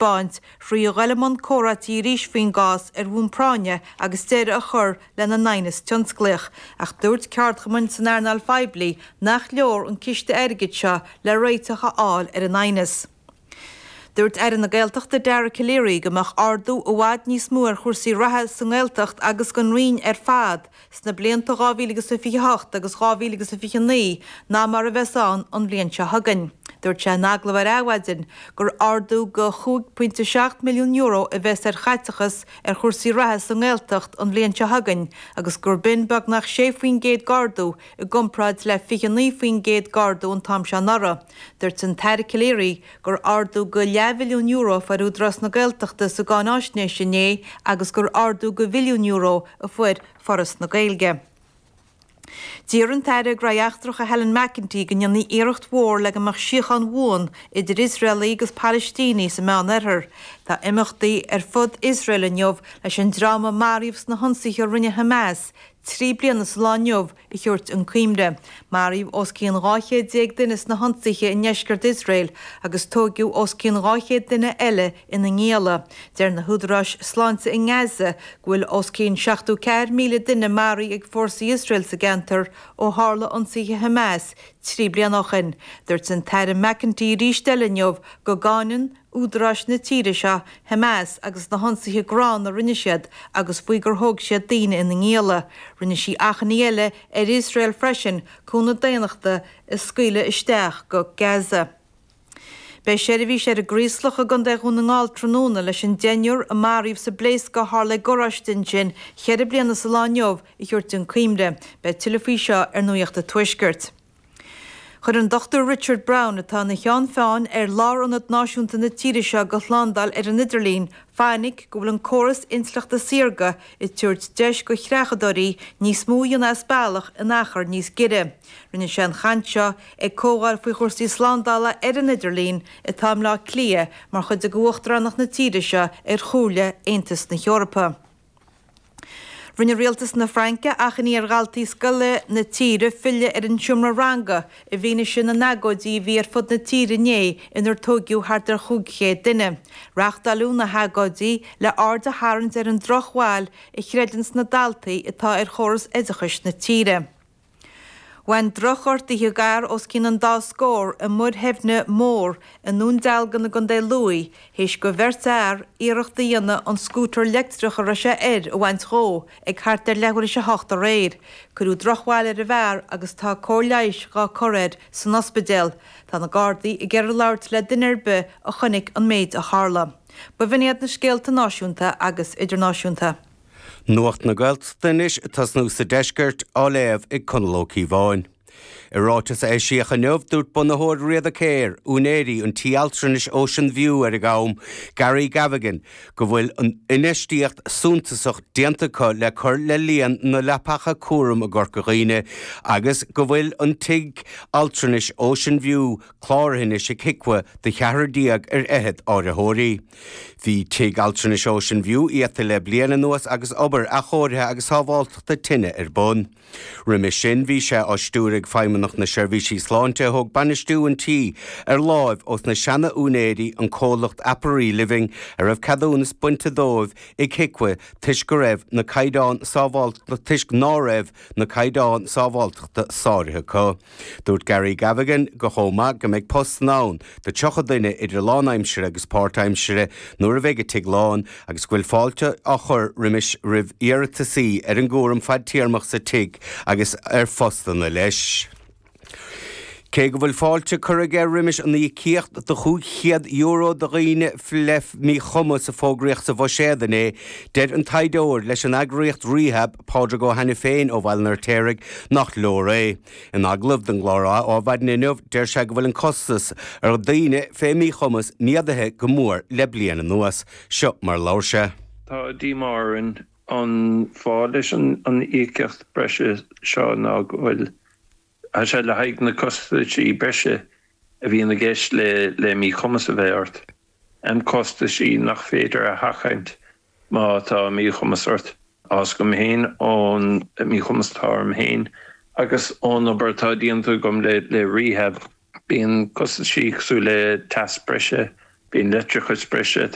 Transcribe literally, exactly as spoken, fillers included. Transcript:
thaispeáint thrí dhul i mbun comhráití arís faoin gcás ar bhonn práinne agus deireadh a chur lena n-aighneas tionsclaíoch, ach dúirt ceardchumainn san earnáil phoiblí nach leor an ciste airgid seo le réiteach a fháil ar an aighneas. Dúirt Aire na Gaeltachta Dara Calleary go mbeadh ardú i bhfad níos mó ar chúrsaí reatha sa nGaeltacht agus don Roinn ar fad sna blianta dhá mhíle agus a fiche hocht agus dhá mhíle agus a fiche naoi ná mar a bheas ann an bhliain seo chugainn. Dúirt sé in agallamh ar Adhmhaidin gur ardú go chúig pointe seacht milliún euro a bheas ar chaiteachas ar chúrsaí reatha sa nGaeltacht an bhliain seo chugainn agus gur b'in beagnach sé faoin gcéad d'ardú i gcomparáid le fiche naoi faoin gcéad d'ardú an t-am seo anuraidh. Dúirt an tAire Calleary gur ardú go leathmhilliún euro a fuair Údarás na Gaeltachta sa gcáináisnéis inné agus gur ardú go mhilliún euro a fuair Foras na Gaeilge. D'iarr an tAire Gnóthaí Eachtracha Helen McEntee go ndéanfaí iarracht mhór le go mbeadh síocháin bhuan idir Iosraelaigh agus Palaistínigh sa Meánoirthear. Tá imeachtaí ar fud Iosrael inniu leis an dream a maraíodh sna hionsaithe a rinne Hamas trí bliana sa lá inniu a thabhairt chun cuimhne. Maraíodh os cionn dhá chéad déag duine sna hionsaithe i ndeisceart Iosrael agus tóigeadh os cionn dhá chéad duine eile ina ngialla. Deir na húdaráis sláinte i nGaza go bhfuil os cionn seachtó ceathair míle duine maraithe ag fórsaí Iosrael sa gceantar ó tharla ionsaithe Hamas trí bliana ó shin. Dúirt an tAire McEntee arís eile inniu go gcáineann údaráis na tíre seo Hamas agus na hionsaithe gránna a rinne siad agus faoi gur thóg siad daoine ina ngialla. Rinne sí achainí eile ar Iosrael freisin cúnamh daonnachta a scaoileadh isteach go Gaza. Beidh seirbhís ar an gCraoslach i gContae Dhún na nGall tráthnóna leis an deichniúr a maraíodh sa bpléascadh a tharla i gcoláiste ansin ceithre bliana sa lá inniu a thabhairt chun cuimhne. Beidh tuilleadh faoi seo ar Nuacht an Tuaiscirt. Chuir an Dochtúir Richard Brown, atá ina cheann feadhain ar Lárionad Náisiúnta na tíre seo do shlándáil ar an idirlíon, fainic go bhfuil an córas intleachta saorga ag tabhairt deis do chreachadóirí níos mó a dhéanamh as bealach in achar níos giorra. Rinne sé an chaint seo ag comhdháil faoi chúrsaí slándála ar an idirlíon atá i mBleá Cliath mar chuid de Uachtaránacht na tíre seo ar Chomhairle Aontas na hEorpa. Rinne rialtas na Fraince achainí ar dhaltaí scoile na tíre filleadh ar an seomra ranga i bhfianaise na n-agóidí a bhí ar fud na tíre inné inar tóigeadh thart ar chúig chéad duine. Reáchtáladh na hagóidí le aird a tharraingt ar an drochbhail a chreideann na daltaí atá ar chóras oideachais na tíre. Bhain drochghortuithe d'fhear os cionn an dá scór i Muir Theimhne Mór i nDún Dealgan i gContae Lú théis do bheirt fhear iarracht a dhéanamh an scútar leictreach a raibh sé air a bhaint dhó ag thart ar leathuair tar éis a hocht aréir. Cuireadh drochbhail ar an bhfear agus tá cóir leighis dhá cur air san ospidéal. Tá na Gardaí ag iarraidh labhairt le duine ar bith a chonaic an méid a tharla. B'in iad na scéalta náisiúnta agus idirnáisiúnta. Nuacht na Gaeltachta anois ag tosnú sa deisceart á léamh ag Conall Ó Cíobháin. I ráiteas a eisíodh inniu dúirt bunaitheoir Riada Care, úinéirí an tí altranais Ocean View ar an gCam, Gary Gavigan, go bhfuil an infheistíocht suntasach déanta acu le cur le líon na leapacha cúraim i gCorca Dhuibhne agus go bhfuil an tigh altranais Ocean View cláraithe anois ag HIQA do cheathrar déag ar fhichead áiritheoirí. Bhí tigh altranais Ocean View iata le bliain anuas agus obair athchóirithe agus sábháilteachta tine ar bun. Roimhe sin bhí sé á stiúradh ag Feidhmeannacht na Seirbhísí Sláinte a thóg bainistiú an tí ar láimh ós na seana-úinéirí an comhlacht Aperí Living a raibh ceadúnas bainte dóibh ag HIQA toisc go raibh na caighdeáin sábháilteachta toisc ná raibh na caighdeáin sábháilteachta sáraithe acu. Dúirt Gary Gavigan go chomh maith go mbeidh postanna ann do tríocha duine idir lánaimsire agus páirtaimsire nuair a bheidh an tigh lán agus go bhfuil fáilte á chur roimis roimh iarratasaí ar an gcúram fadtéarmach sa tigh agus ar phostanna leis. Cé go bhfuil fáilte curtha aige roimis an íocaíocht de chúig chéad euro do dhaoine le míchumas a fógraíodh sa bhuiséad inné, deir an taighdeoir leis an eagraíocht Rehab, Pádraig Ó hAiniféin ó Bhaile an Fheirtéaraigh, nach leor é. In agallamh don gclár Adhmhaidin inniu, deir sé go bhfuil an costas ar dhaoine fé mhíchumas méadaithe go mór le bliain anuas. Seo mar labhair sé. Tá díomá orainn an fáth leis an an íocaíocht breise seo ná go bhfuil Tá sé le haghaidh na costaisí breise a bhíonn i gceist le le míchumas a bheith ort, an costaisí nach féidir a sheachaint má tá míchumas ort. Tá a fhios agam féin ón míchumas atá orm féin agus ón obair atá déanta agam le le Rehab, bíonn costaisí cosúil le teas breise Bíonn leictreachas breise